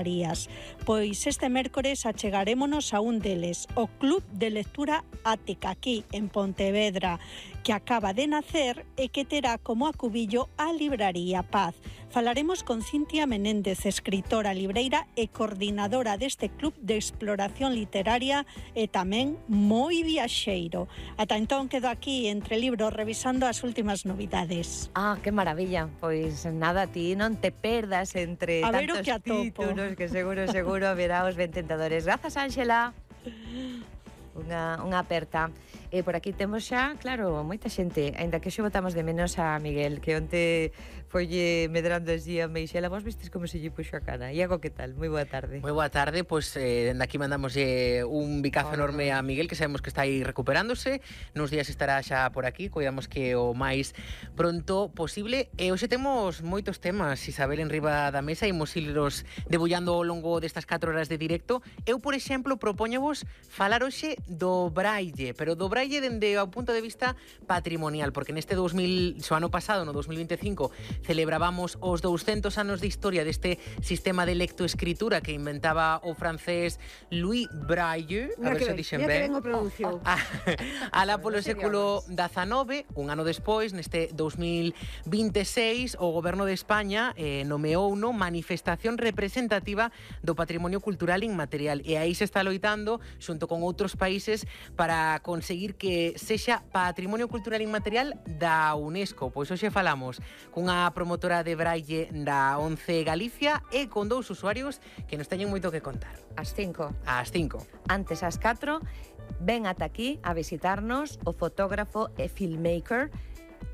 librarías. Pois este mércores achegarémonos a un deles, o Club de Lectura Ática, aquí en Pontevedra, que acaba de nacer e que terá como acubillo a Libraría Paz. Falaremos con Cintia Menéndez, escritora, libreira e coordinadora deste club de exploración literaria e tamén moi viaxeiro. Ata entón quedo aquí entre libros revisando as últimas novidades. Ah, que maravilla. Pois nada, ti non te perdas entre a ver tantos o que atopo. títulos que seguro verá os ben tentadores. Grazas, Ángela. Unha aperta. E por aquí temos xa, claro, moita xente, aínda que xe botamos de menos a Miguel, que onte folle medrando así a Meixela. Vos vistes como se lle puxo a cara. Iago, que tal? Moi boa tarde. Moi boa tarde, pois dende aquí mandamos un bicazo enorme a Miguel, que sabemos que está aí recuperándose. Nos días estará xa por aquí, coidamos que o máis pronto posible. E hoxe temos moitos temas, Isabel, en riba da mesa, imos irlos debullando ao longo destas 4 horas de directo. Eu, por exemplo, propóñovos falar hoxe do Braille, pero do Braille dende o punto de vista patrimonial, porque neste ano pasado, no 2025, celebrábamos os 200 anos de historia deste sistema de lectoescritura que inventaba o francés Louis Braille, a ver se dixen ben. Alá polo século XIX, un ano despois, neste 2026, o Goberno de España nomeou unha manifestación representativa do patrimonio cultural inmaterial, e aí se está loitando xunto con outros países para conseguir que sexa Patrimonio Cultural Inmaterial da UNESCO. Pois hoxe falamos cunha promotora de Braille da ONCE Galicia e con 2 usuarios que nos teñen moito que contar. Ás 5. Ás 5. Antes ás 4, ven ata aquí a visitarnos o fotógrafo e filmmaker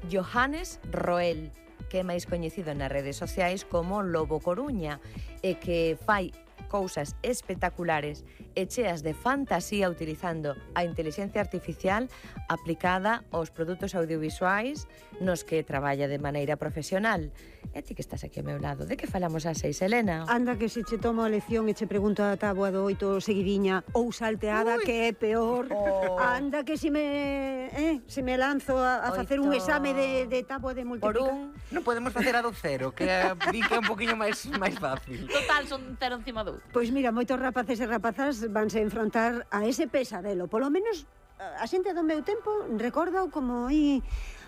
Johannes Roel, que é máis coñecido nas redes sociais como Lobo Coruña, e que fai cousas espectaculares e cheas de fantasía utilizando a inteligencia artificial aplicada aos produtos audiovisuais nos que traballa de maneira profesional. E ti que estás aquí ao meu lado, de que falamos ás 6, Elena? Anda que se che tomo a lección e che pregunto a táboa do 8 seguidiña ou salteada, que é peor. Anda que se me lanzo a facer un exame de táboa de multiplicar. Non podemos facer a do 0, que di que é un poquinho máis fácil. Total, son 0 encima do 1. Pois mira, moitos rapaces e rapazas vanse enfrontar a ese pesadelo. Polo menos a xente do meu tempo recorda como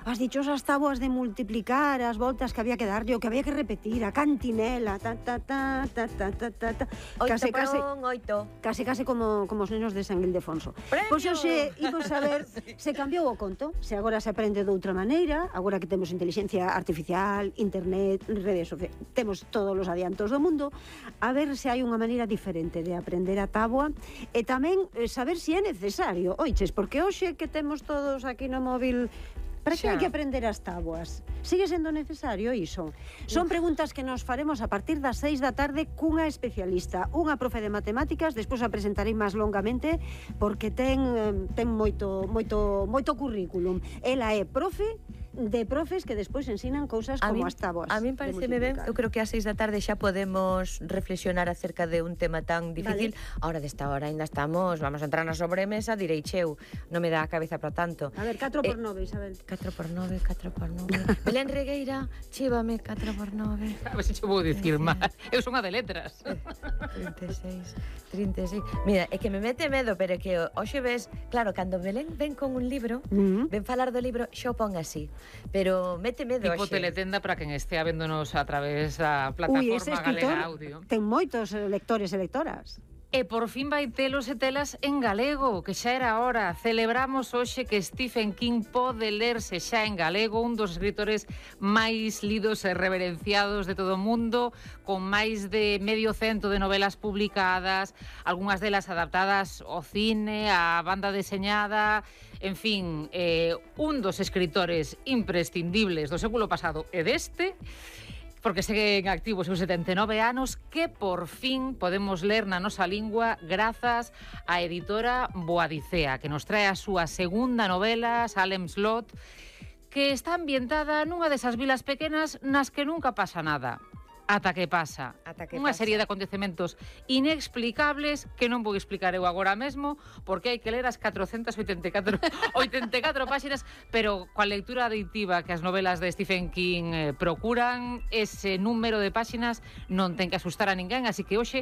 as dichosas táboas de multiplicar, as voltas que había que darlle, o que había que repetir, a cantinela, case como os nenos de San Ildefonso. Pois hoxe imos a ver se cambiou o conto, se agora se aprende de outra maneira, agora que temos inteligencia artificial, internet, redes sociais, temos todos os adiantos do mundo, a ver se hai unha maneira diferente de aprender a táboa e tamén saber se é necesario. Oiches, porque hoxe que temos todos aquí no móvil, para que hai que aprender as táboas? Sigue sendo necesario iso? Son preguntas que nos faremos a partir das 6 da tarde cunha especialista, unha profe de matemáticas, despois a presentarei máis longamente porque ten moito currículum. Ela é profe de profes que despois ensinan cousas como as táboas. A mí pareceme ben, eu creo que ás 6 da tarde xa podemos reflexionar acerca de un tema tan difícil. Ahora desta hora ainda estamos, vamos a entrar na sobremesa, direi cheu, non me dá a cabeza para tanto. A ver, 4x9, Isabel. 4x9. Belén Regueira, chívame 4x9. A ver se che vou dicir máis. Eu son a de letras. 36. Mira, é que me mete medo, pero é que hoxe ves, claro, cando Belén ven con un libro, ven falar do libro, xa o pon así. Pero mete medo tipo hoxe. teletenda para quen estea véndonos a través da plataforma Galega Audio. Ten moitos lectores e lectoras. E por fin vai telos e telas en galego, que xa era hora. Celebramos hoxe que Stephen King pode lerse xa en galego, un dos escritores máis lidos e reverenciados de todo o mundo, con máis de 100 de novelas publicadas, algunhas delas adaptadas ao cine, á banda deseñada, en fin, un dos escritores imprescindibles do século pasado e deste, porque seguen activos seus 79 anos, que por fin podemos ler na nosa lingua grazas á editora Boadicea, que nos trae a súa segunda novela, Salem Slot, que está ambientada nunha desas vilas pequenas nas que nunca pasa nada. Ata que pasa. Unha serie de acontecementos inexplicables que non vou explicar eu agora mesmo, porque hai que ler as 484 páxinas, pero coa lectura aditiva que as novelas de Stephen King procuran, ese número de páxinas non ten que asustar a ninguén, así que hoxe